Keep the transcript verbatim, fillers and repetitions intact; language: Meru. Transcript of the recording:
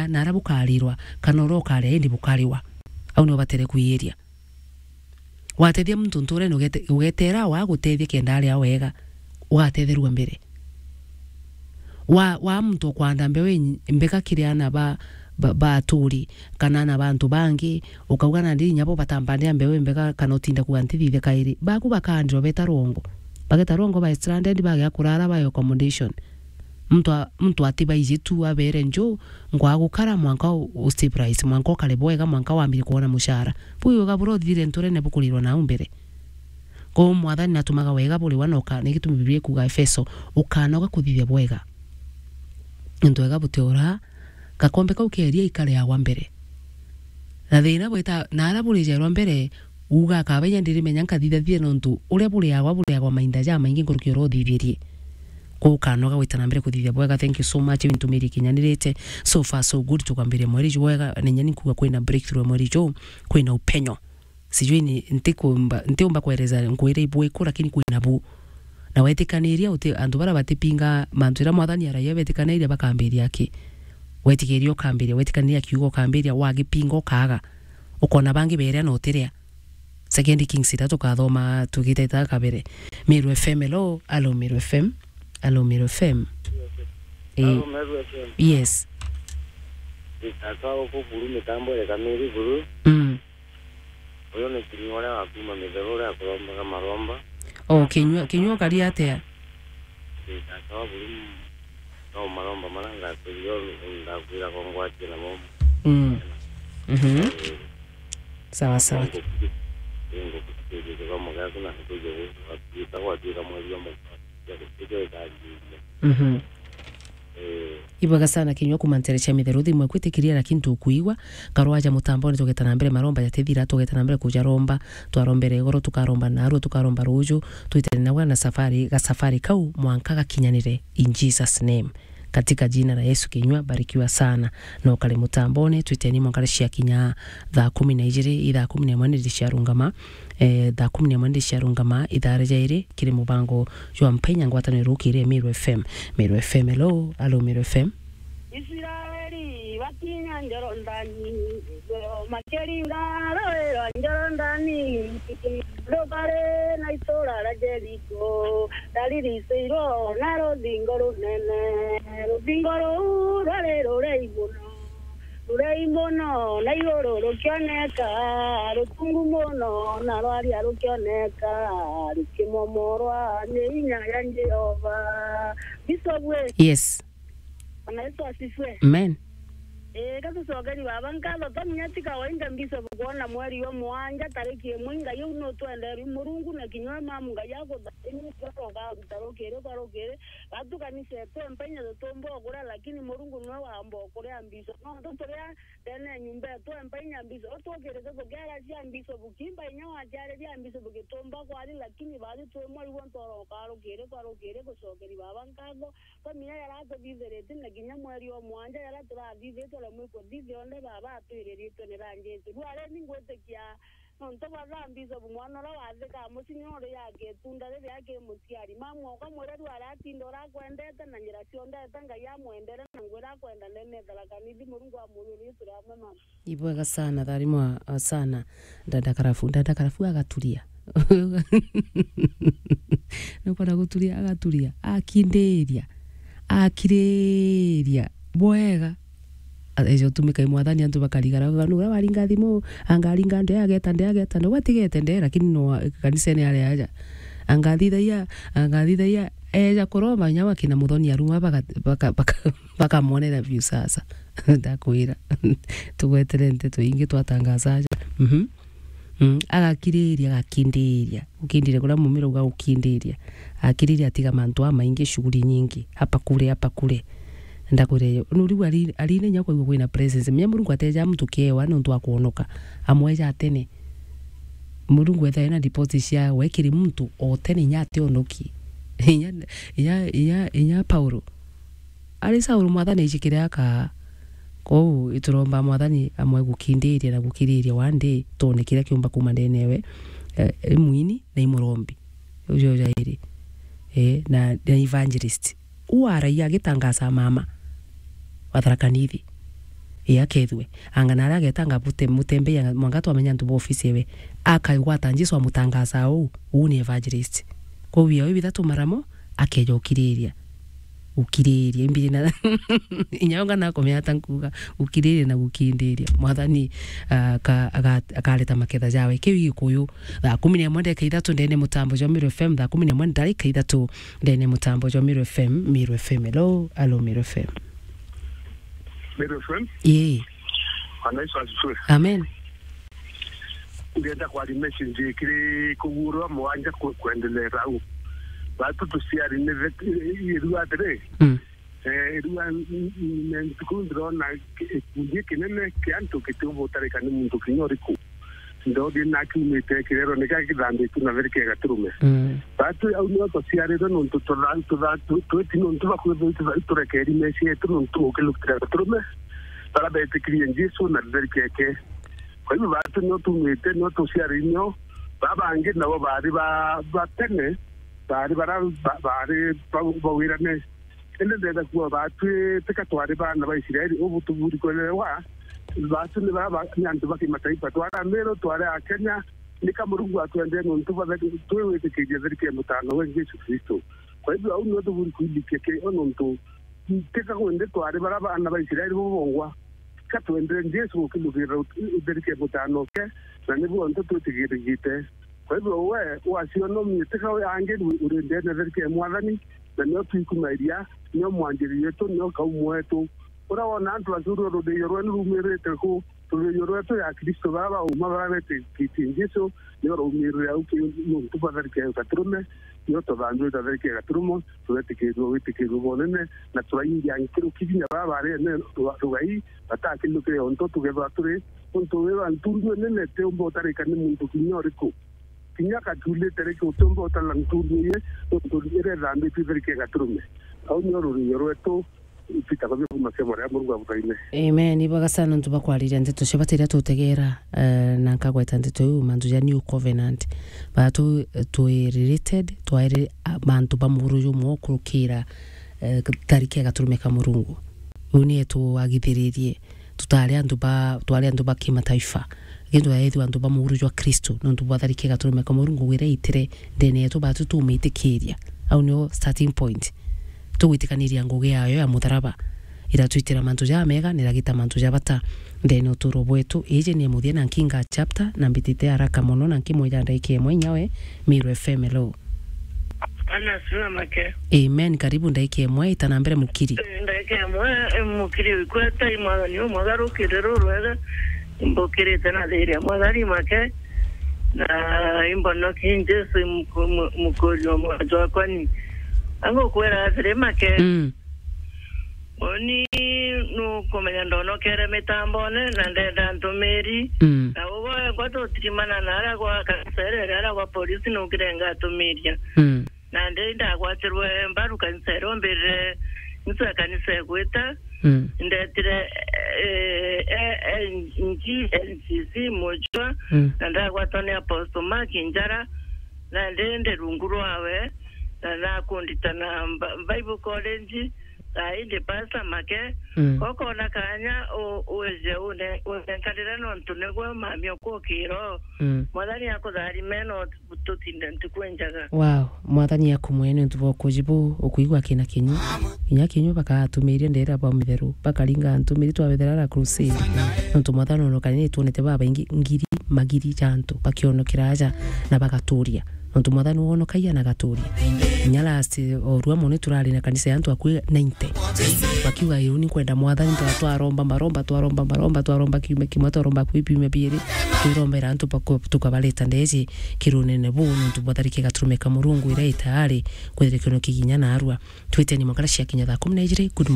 na ara bukarirwa, kana uria ukaria indi bukariwa. Au nio batere kwiiria. Watethia muntu nturene ugete-, ugetera wa gutethia kenda aria wega, ugatetherua mbere. Wa, wa muntu ukwanda mbeu inyi-, mbega kiri ana ba, ba, ba aturi, kana ana ba antu bangi, ukauga nandi inya bo batambandira mbeu imbega kana utinda kuga ntithithe kairi. Baku bakaandirwa beta rwongo. Bageta rwongo ba stranded, bagea kurara ba accommodation. Muntu a-, muntu atibaiji tu abere nju, nkwa gukara mwanka u-, u stabilize, mwanka ukare bwega, mwanka wambire kwona mushara. Buu wega buria uthithire nturene bukurirwa nau mbere. Kwou Mwathani natumaga wega buriwa na uka-, ni gitumi Biblia ikuga Efeso, ukanoga kuthithia bwega. Nontu wega butiura, gakombe kau keria ikariagwa mbere. Na thina bwita, na ara burijairwa mbere, uga akaba inya ndirimenya nkathithathithia nontu uria buriagwa, buriagwa mainda jamaingi nkuruki uria uthithirie. Kwou ukanoga gwita na mbere kuthithia bwega. Thank you so much, wintumirie kinyanirite. So far so good, tukambiria mweri ju bwega, na inya ni nkuga kwina breakthrough mweri ju, kwina upenyo. Sijui ni, ntikumba, ntiumba kueleza nkwire ibwiku, lakini kwina bu. Na wetikaniria uti, antu baria batipinga mantu jaria Mwathani aragia, betikaniria bakambiria aki. Wetikiria ukambiria, wetikaniria akiuga ukambiria, wagipinga ukaaga. Ukona bangi beria na utiria. Second Kings ithatu tukathoma tugiteta kabere. Meru F M, hello. Hello, Meru F M. Hello, Meru F M. Eh, Hello, Meru F M. Yes. Itaka uku buru mitambo ya kamiri buru. Mm. Uyu ni Kinyua uria wa kuuma Mitheru uria akurombaga maromba. Oh, Kinyua, Kinyua ukari atia? Itaka wa buru no maromba maria ngakwirire ndakwira ko ngwatie namo. Mm. Mhm. Eh, Sawa, sawa. Ngukuthikiria kikomo giaku na nkuja gwika gwatuika mweri umwe. Mhm. Eh. Ibwega sana Kinyua kuuma ntere cia Mitheru, thimu eku itikiria, lakini tukuigua. Karwaja mutamboni, tugeta na mbere maromba jatithira, tugeta na mbere kuja romba, twarombere igoro, tukaromba narua, tukaromba ruju, twitene nawe na safari, ga safari kau mwanka gakinyanire, in Jesus name. Katika jina la Yesu Kinyua, barikiwa sana. Na ukari mutamboni, twiteni mwanka cia kinya thaa kumi na ijiri, i thaa kumi na imwe niri ciarungama, eh, thaa kumi na imwe niri ciarungama, ithaa ria jairi, kiri mubango jwa Mpenya ngwataniro rukiri Meru F M. Meru F M, hello, hello, Meru F M. Isiraeli bakinya Jorodani, makiringa rũĩ rwa Jorodani, rũkarĩ na itũũra rĩa Jeriko, rarigicĩirwo na rũthingo rũnene. Rũthingo rũu rwarĩ rũraihu mũno, rũraihu mũno, na igũrũ rũkĩoneka, rũtungu mũno, na rwaria rũkĩoneka, rũkĩmomorwa nĩ hinya ya Jehova. Bishop we. Yes. Bwana Yesu asifiwe. Amen. Ee, ka tucokeri baba nkatho, to munya ti kawaida Bishop kwona mweri wa mwanja tariki imwe, Ngai uu nutwenderu Murungu na kinya we mamu Ngai akuthaimia ugaruta rukiri kwa rukiri. Batu kanisa yetu empa inya tutumba ukuria, lakini Murungu niwe wamba ukuria Bishop. Nontu turia ndene ya nyumba yetu empa inya Bishop, tukirite tukiaracia Bishop, kimba inya waciariria Bishop gitumba kwari, lakini batu twi mweri gwonthe urokaa rukiri kwa rukiri gucokeri baba nkatho. Kwa miaka jaria tuthithiritie na kinya mweri o mwanja jaria turathithitwe, na mwiko thithi onthe baba atwiriritwe ni ra Jesu. Riu aria ni ngwitikia nontu bwa thaa Bishop mwana uria wathika mucii nyo uri yake itunda riria aki muciari. Mamu oka mwire riu aria atinda uria akwendete na njira cionthe eta Ngai amwendere na ngwira akwenda ndene Tharaka Nithi, Murungu amwiyurie turi amwe mama. Ibwega sana, tharimwa, uh, sana. Dada Karafu, Dada Karafu agaturia. Nukwenda guturia, agaturia. Akindiria. Akiriria. Bwega. A-, eja utumika i mwathani antu bakarigara. Bauga, "Nu uria waringa thimu, anga aringa nde, ageta nde, ageta nde." Gwatigete nde, lakini no wa-, kanisene aria aja. Anga athithagia, anga athithagia, eja kuromba, inya wakina muthoni aruma baka-, baka-, baka-, bakamwonera biu sasa. Ndakwira. Tugwetere nteto ingi twatangaza aja. Mhm. Mm, agakiriria, agakindiria. Gukindiria kuria mumira uga gukindiria. Akiriria atiga mantu amaingi, shughuli nyingi. Hapa kule, hapa kule. Ndakwira yo. Nu riu ari-, arine inya kwaigua kwina presence. Menya Murungu ateja muntu kiewa nontu wa kwonoka. Amweja tene. Murungu ethae na deposit cia we kiri muntu o tene inya ationoki. Inya, inya, inya, inya Paulo. Ari Saulu, Mwathani aici kiria akaa. Kwou ituromba Mwathani amwe gukindiria na gukiriria one day, twone kiria kiumba kuuma ndene ewe, eh, i mwini na i murombi. Ucio jairi. Eh, na, na evangelist. U aragia agitangaca mama wa Tharaka Nithi. Ii, akethue. Anga na aria agetanga bute-, mutembei, anga mwanka twamenya antu ba ofisi ewe. Akaigwata Jesu amutangaza uu, uu ni evangelist. Kwou biao bithatu maramo, akeja ukiriria. Ukiriria. Imbiri na inya onga nakomea ata nkuga, ukiriria na gukindiria. Mwathani, ah, ka-, aga-, akareta maketha jawe. Kiu Gikuyu. Thaa kumi na imwe ndagika ithatu ndene mutambo jwa Meru F M, thaa kumi na imwe ndagika ithatu ndene mutambo jwa Meru F M, Meru F M. Hello, hello, Meru F M. Meru F M? Ii. Bwana Yesu asifiwe. Amen. Ndienda kwaria message kiri kugurwa mwanja ku-, kwendelea au. Batu tuciari ni vet-, irua atiri. Mm. Eh, irua n-, n-, n-, ntuku ndirona ki-, gikundi kinene kia antu kitiumba utarika ni muntu kinya uriku. Ndothi na akiumite kirero, nika kithambitue na therike ya gaturume. Mm. Batu au nio tuciarirwe nontu tutha-, tutha-, tu-, twiti nontu bakwithirwa itutha-, iturekeri meci yetu nontu ukilukira gaturume, bara betikirie Jesu na therike yake. Kwa hivyo batu nio tumite, nio tuciarirwe nio, ba bangi nabo bari ba, ba tene, bari bara, ba, bari ba, bawirane. Indi ndenda kuuga baatwi tika twari baana ba Israeli, ubu tuburi kwelewa, baatwi ni bara ba, ni antu ba kimataifa. Twari Ameru, twari Akenya, nika Murungu atwendee nontu bwa twi gwitikiria therike ya mutano we Jesu Kristo. Kwa hivyo, au nio tuburi kwilikia kirio nontu tika kwende twari bara baana ba Israeli bobongwa, tika twendere Jesu gukilukirira ut-, therike ya mutano ke, na nibu ontu twitigirigite. Kwa hivyo we, waciono mieteka we angi uri ndene therike ya Mwathani, na nio twikumairia, nio mwanjiri wetu, nio kaumu wetu. Uria wona antu bakiurua ruthio rwenu rumirite ku, ruthio rwetu ya Kristo, bara bauma bara betikitie Jesu, nio raumirire au ki nontu bwa therike ya gaturume, nio tuthambiwe twa therike ya gaturumo, turetikirua witikirua bunene, na turaingia nkiruki kinya bara bari ene ruga-, rugai, batakilukire ontu tugethwa turi, untu wi wa ntundu nene tiumba utarika ni muntu kinya uriku. Kinya katulite riki utiumba utala ntundu iye, nontu iria ithambitue itherike gaturume. Au nio rurio rwetu, itwitagwa bia kuma cia mwaria Murungu abuthaine. Amen. Ibaga sana nontu bakwariria nteto cia bata iria tutegera, eh, na nkagweta nteto iu, mantu ja new covenant. Batu, eh, twi related, twairi, ah, mantu ba muguru jumwe ukurukira, eh, tharike gaturume ka Murungu. Uu nie twagithiririe. Tutari antu ba, twari antu ba kimataifa. Lakini twaethirwa antu ba muguru jwa Kristo, nontu bwa tharike gaturume ka Murungu wira itire ndene yetu batu tumitikiria. Au nio starting point. Tugwitikaniria ngugi yayo ya mutharaba. Iratwitira mantu jamega, na iragita mantu ja bata ndene uturo bwetu. Iji ni muthia na nkinga chapter, na mbitite haraka mono, na nkimwija ndaika imwe inyawe, Meru F M, hello. Bwana asifiwe make. Amen. Karibu ndaika imwe, ita na mbere mukiri. Eh, ndaika imwe, eh, mukiri wikweta, i mwathani umwagarukire rurwega, imbukirite na thiria mwathani make, na imbonoki Jesu muku-, mu-, mukuri o mwantu wakwa ni. Angukwira atiri make. Mm. Uni nukumenya ndonokere mitambone na ndenda ntumiri. Mm. Na ugo ekwa tutirimana na aria gwa kanisa iria, aria gwa polisi nukire ngatumiria. Mm. Nandi ndagwatirwe mbaru kanisa iria umbirire ntu ya kanisa igwita. Mm. Ndetire, eh, eh, eh, N G N C C mujwa, Mm. na ndagwatwa ni Apostle Mark Njara, nandi ndi rungu rwawe, na nakundita na Ba-, Bible College, na indi pastor make, Mm. kokona kanya u-, wije une-, unenkanire nontu nigwe mami ukukira. Mm. Mwathani akutharime no tutinde ntuku injega. Wow, Mwathani akumwe ni untu bwa ukuji buu, ukuigua kina kinyu. Inya kinyu bakatumiria ndera bwa mitheru, bakaringa ntumiri twabethera ara crusade. Nontu Mwathani onokani ni twonete babaingi ngiri magiri ja antu bakionokera aja na bagaturia. Nontu Mwathani wonokagia na agaturia. Inya last, o rua mono turari na kanisa ya antu akui ninety. Bakiuga, "Iu ni kwenda Mwathani," twa-, twaromba maromba, twaromba maromba, twaromba kiumia kimwe, twaromba kwi biumia biiri. Twirombera antu baku-, tukabareta ndeji kirunene buu, nontu bwa tharike gaturume ka Murungu iria itaari kwithira kiono kiginya narua. Twiteni mwakara cia kinya thaa kumi na ijiri. Good